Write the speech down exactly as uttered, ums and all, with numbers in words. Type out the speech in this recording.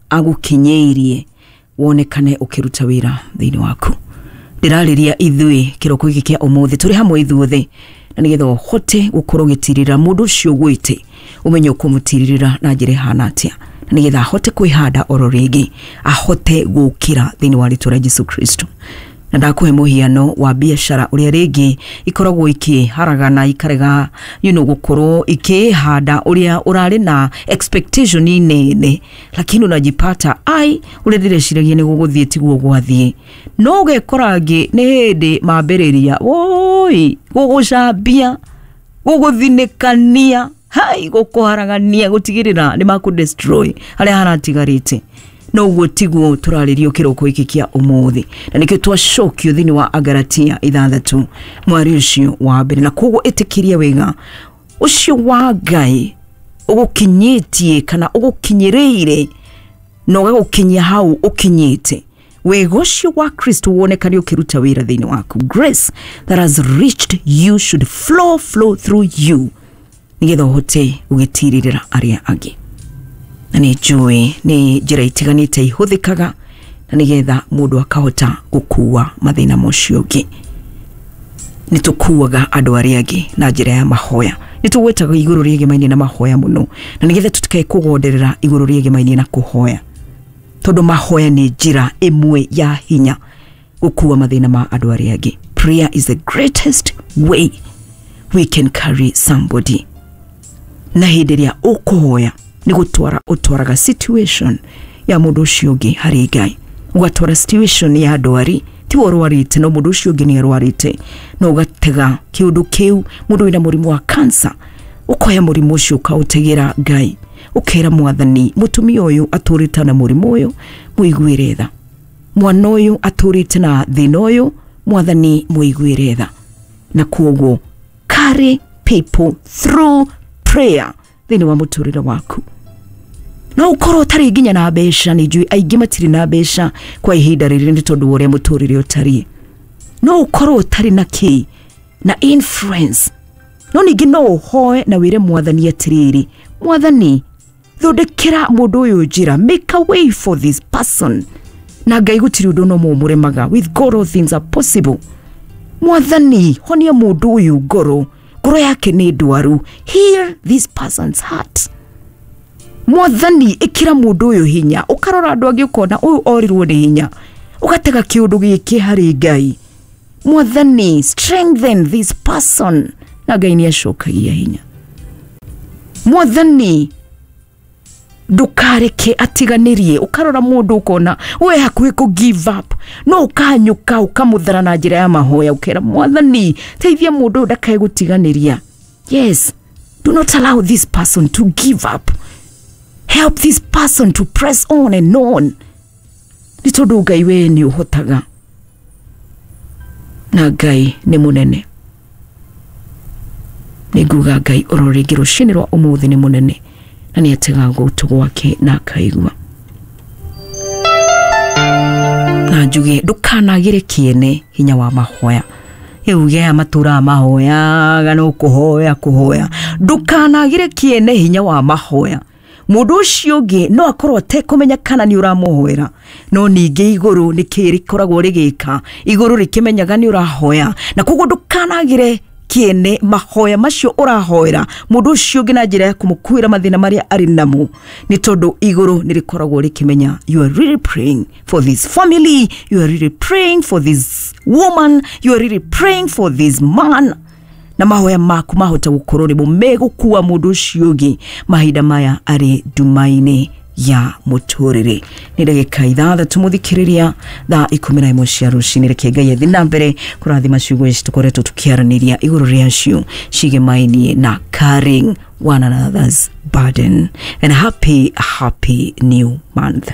Agũkinyĩirie wonekane ũkĩruta wĩra thĩinĩ waku. Ndĩrarĩria ithuĩ kĩroko gĩkĩ kĩa ũmũthĩ tũrĩ hamwe ithuothe, na nĩgetha ũhote gũkorwo ũgĩtirĩrĩra mũndũ ũcio ũgwĩte, ũmenye ũkũmũtirĩrĩra na njĩra ĩhana atĩa, na nĩgetha ahote kwĩhanda oro rĩngĩ, ahote gũkĩra thĩinĩ wa rĩtwa rĩa Jesu Kristo. Na ndakũhe mũhiano wa biacara ũrĩa rĩngĩ ikoragwo ikĩharagana, ikarega you know, gũkorwo ikĩhanda ũrĩa ũrarĩ na expectation nene, lakini unajipata ai, ũrĩa ndĩreciragia nĩ gũgũthiĩ tiguo gwathiĩ. No ũgekora angĩ nĩ hĩndĩ mambĩrĩria woi gũgũcambia, gũgũthinĩkania, hai, gũkũharagania, gũtigĩrĩra nĩ makũ destroy harĩa haratigarĩte. No ũguo tiguo tũrarĩrio kĩroko gĩkĩ kĩa ũmũthĩ, na nĩkĩo twacokio thĩinĩ wa Agalatia ithathatũ mwari ũcio wa mbere. Na koguo ĩtĩkĩria wega ũcio wa Ngai ũgũkinyĩtie kana ũgũkinyĩrĩire na ũgagũkinyia hau ũkinyĩte, wega ũcio wa Kristo wonekane ũkĩruta wĩra thĩinĩ waku. Grace that has reached you should flow flow through you, nĩgetha ũhote gũgĩtirĩrĩra arĩa angĩ. Na nĩ njũĩ nĩ njĩra itiganĩte ihũthĩkaga na nĩgetha mũndũ akahota gũkua mathĩna mocio ũngĩ. Nĩ tũkuaga andũ arĩa angĩ na njĩra ya mahoya, nĩ tũgwetaga igũrũ rĩegemainie na mahoya mũno, na nĩgetha tũtikae kũgonderera igũrũ rĩegemainie na kũhoya, tondũ mahoya nĩ njĩra ĩmwe ya hinya gũkua mathĩna ma andũ arĩa angĩ. Prayer is the greatest way we can carry somebody. Na hĩndĩ ĩrĩa ũkũhoya nĩ gũtwara ũtwaraga situation ya mũndũ ũcio ũngĩ harĩ Ngai, ũgatwara situation ya ndwari, ti we ũrwarĩte no mũndũ ũcio ũngĩ nĩ arwarĩte, no ũgatega kĩũndũ kĩu. Mũndũ wĩna mũrimũ wa cancer, ũkoya mũrimũ ũcio ũkaũtegera Ngai, ũkera Mwathani, mũtumia ũyũ atũrĩte na mũrimũ ũyũ, mũiguĩre tha. Mwana ũyũ atũrĩte na thĩna ũyũ, Mwathani mũiguĩre tha. Na koguo carry people through prayer thĩinĩ wa mũtũrĩre waku. No ũkorwo ũtarĩ nginya na mbeca, nĩ njũĩ aingĩ matirĩ na mbeca kwa ihinda rĩrĩ nĩ tondũ wa ũrĩa mũtũrĩre ũtariĩ. No ũkorwo ũtarĩ na kĩ na influence, no ningĩ no ũhoe na wĩre Mwathani atĩrĩrĩ, Mwathani, thondekera mũndũ ũyũ njĩra, make a way for this person. Na Ngai gũtirĩ ũndũ no mũmũremaga, with God all things are possible. Mwathani, honia mũndũ ũyũ ngoro, ngoro yake nĩ ndwaru, heal this person's heart. Mwathani, ĩkĩra mũndũ ũyũ hinya. Ũkarora andũ angĩ ũkona ũyũ orirwo nĩ hinya, ũgatega kĩũndũ gĩkĩ harĩ Ngai. Mwathani, strengthen this person. Na Ngai nĩ acokagia hinya. Mwathani, ndũkareke atiganĩrie. Ũkarora mũndũ ũkona we hakuhĩ kũ give up, no ũkanyũka ũkamũthara na njĩra ya mahoya, ũkera Mwathani, teithia mũndũ ũyũ ndakae gũtiganĩria. Yes, do not allow this person to give up. Help this person to press on and on, nĩ tondũ Ngai we nĩ ũhotaga, na Ngai nĩ mũnene. Nĩ nguga Ngai oro rĩngĩ rũcinĩ rwa ũmũthĩ nĩ mũnene, na nĩ atega gũtũ gwake na akaigua. Na njuge ndũkanagĩre kĩene hinya wa mahoya. Rĩu aya matũraga mahoyaga no kũhoya kũhoya. Ndũkanagĩre kĩene hinya wa mahoya. Mũndũ ũcio ũngĩ no akorwo atekũmenya kana nĩ ũramũhoera, no ningĩ igũrũ nĩ kĩĩ rĩkoragwo rĩgĩka, igũrũ rĩkĩmenyaga nĩ ũrahoya. Na koguo ndũkanagĩre kĩene mahoya macio ũrahoera mũndũ ũcio ũngĩ na njĩra ya kũmũkuĩra mathĩna marĩa arĩ namo, nĩ tondũ igũrũ nĩ rĩkoragwo rĩkĩmenya you are really praying for this family, you are really praying for this woman, you are really praying for this man. Na mahoya maku mahota gũkorwo nĩmo megũkua mũndũ ũcio ũngĩ mahinda maya arĩ nduma-inĩ ya mũtũrĩre. Nĩ ndagĩka ithathatũ mũthikĩrĩria thaa ikũmi na ĩmwe cia rũcinĩ. Reke Ngai athiĩ na mbere kũrathima ciugo ici tũkoretwo tũkĩaranĩria igũrũ rĩacio cigemainie na carrying one another's burden. And happy happy new month.